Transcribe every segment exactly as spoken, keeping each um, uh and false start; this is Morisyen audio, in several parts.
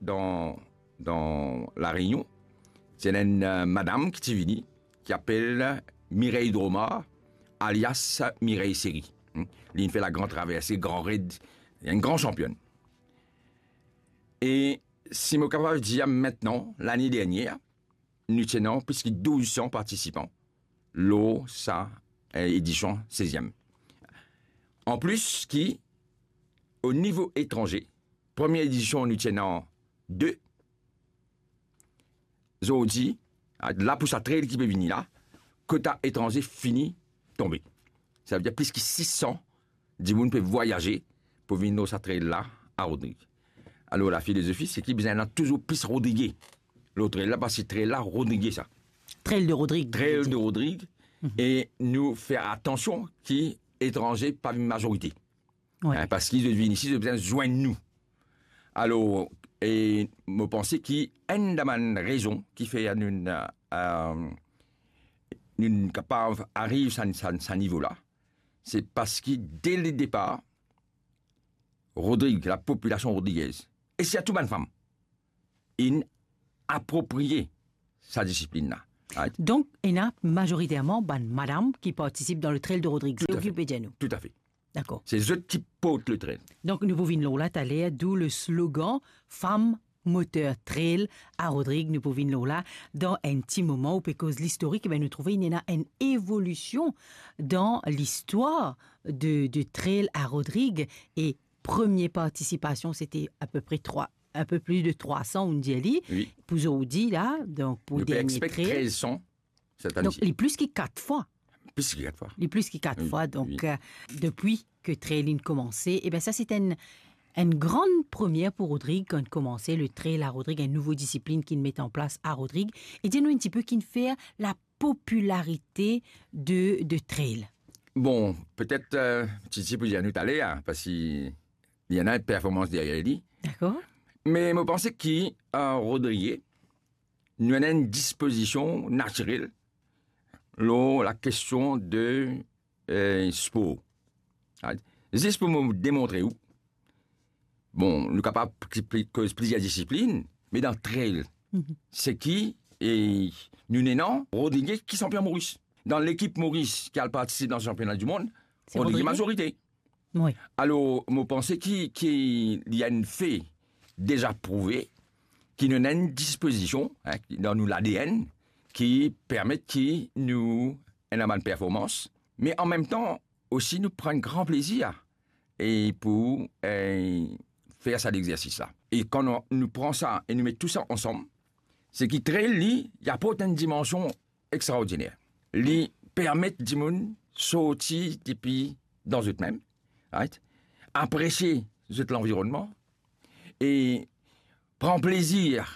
dan, dan La Rényon, ti ena enn, eh, madam ki ti vini, ki apel Mireille Dromard, alias Mireille Série. Hmm? Li inn fer la gran traverse, gran red, enn gran sanpionn. E si mo kapav dir, aster, lane dernier, nou ti ena plis ki douz san partisipan lor sa, eh, edision seziem. Anplis ki, o nivo etranze, premie edision nou ti ena de, zordi, la pou sa trail ki pe vini la, kota etranze fini tonbe. Savedir plis ki sis san dimoun pe vwayaze pou vinn lor sa trail la a Rodrig. Alor, lafilozofi, se ki bizin ena touzour plis Rodrige lor trail la, parski trail la, Rodrige sa. Trail de Rodrig, Trail de Rodrig, e nou fer atansion ki etranze pa vinn mazorite. Wi. Hein, parski zot vinn isi, zot bizin zwenn nou. Alor, e mo panse ki enn dan bann rezon ki fer nou, eh, nou kapav ariv sa, sa, sa nivo la, se parski de le depar, Rodrig, lapopilasion rodrigez, e sirtou bann fam, inn apropriye sa disiplinn la. Right? Donk, ena mazoriterman bann madam ki partisip dan le Trail de Rodrig. Toutafe. Se ou ki pe dir nou. Toutafe. Dakor. Se zot ki port le trail. Donk, nou pou vinn lor la taler, d'où le slogan Femme Moteur Trail a Rodrig. Nou pou vinn lor la dan enn ti moman. Ou pe koz listorik, e ben, nou trouve ena enn evolision dan listwar de, de trail a Rodrig. E premie partisipasion, sete apepre trwa, enn pe plis de trwa san, ou'nn dir li. Wi. Pou zordi la, donk pou dernie trail. Nou pe expect trez san set ane. Donk, li plis ki kat fwa. Plis ki kat fwa. Li plis ki kat fwa. Wi, donk, wi. Eh, depi ke trail inn koumanse, e ben, sa se enn, enn gran premie pou Rodrig, kan koumanse le trail a Rodrig, enn nouvo disiplinn ki'nn met an plas a Rodrig. E dir nou enn tipe ki'nn fer lapopilarite de, de trail. Bon, petet, eh, Titi pou dir nou taler, parski li ena enn performans deryer li. Dakor. Me mo panse ki, eh, Rodrig, nou ena enn dispozision natirel lor lakestion de, eh, spor. Right? Zis pou mo demontre ou, bon, nou kapav pli, pli, koz plizier disiplinn, me dan trail, se ki, e nou ena Rodrig ki sanpion Moris. Dan lekip Moris ki al partisip dan sanpiona dimonn, se Rodrig Rodrig. Mazorite. Wi. Alor, mo panse ki, ki li enn fe deza prouve ki nou ena enn dispozision, hein, ki dan nou l'A D N, ki permet ki nou ena bann performans, me an mem tan osi nou pran enn gran plezir e pou, eh, fer sa lexersis la. E kan nou, nou pran sa e nou met tou sa ansam, se ki trail li, li aport enn dimansion extraordiner. Li permet dimoun sorti depi dan zot mem, right? Apresie zot lanvironnman e pran plezir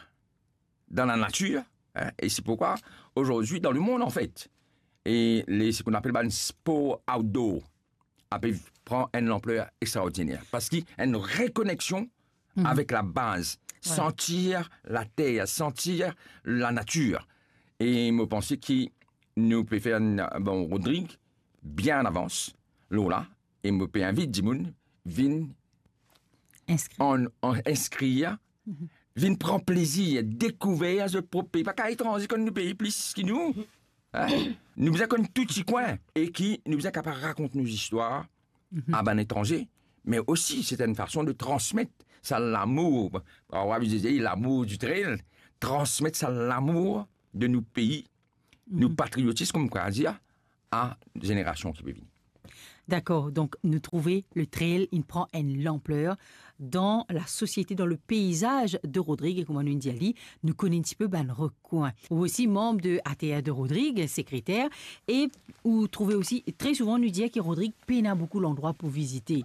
dan lanatir, hein, e se pourkwa azordi dan lemond, anfet, e le, seki nou apel bann spor outdoor, ape pran enn lanpler extraordiner, parski enn rekoneksion avek labaz, santir later, santir lanatir. E mo panse ki nou pe fer enn, bon, Rodrig bien an avans lor la, e mo pe invit dimoun vinn inskrir, an, an, inskrir, vinn pran plezir, dekouver zot prop pei. Pa kapav etranze konn nou pei plis ki nou. Hein? Nou bizin konn tou ti kwin e ki nou bizin kapav rakont nou zistwar a bann etranze, me osi se enn fason de transmet sa lamour, lamour du trail, transmet sa lamour de nou pei, nou patriotism, kouma nou dir, a zenerasion ki pe vini. Dakor, donk nou trouve le trail inn pran enn lanpler dan lasosiete, dan le peizaz de Rodrig, e kouma nou dir li, nou kone enn tipe bann rekwin. Ou osi manm de A T R de Rodrig, sekreter, e ou trouve osi, tre souvan nou dir ki Rodrig pena boukou landrwa pou vizite.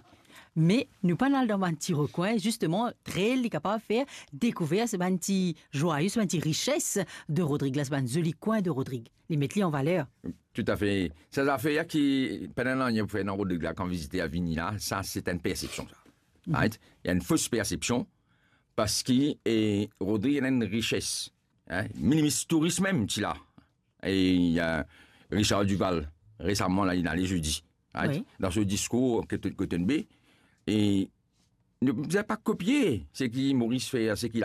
Me nou pa'nn al dan bann ti rekwin, zisteman, trail li kapav fer dekouver sa bann ti zwayo, sa bann ti rises de Rodrig la, sa bann zoli kwin de Rodrig. Li met li an valer. Toutafe. Sa zafer ki pena nanye pou fer dan Rodrig la, kan viziter vini la, sa se enn persepsion sa. Right? Li enn fos persepsion, parski, e, Rodrig ena enn rises. Hein? Minimis touris mem ti la. E, eh, Richard Duval, resaman la, li ale zedi, right? Wi. Dan so diskour kot, kot N B, e nou bizin pa kopie seki Moris fer, seki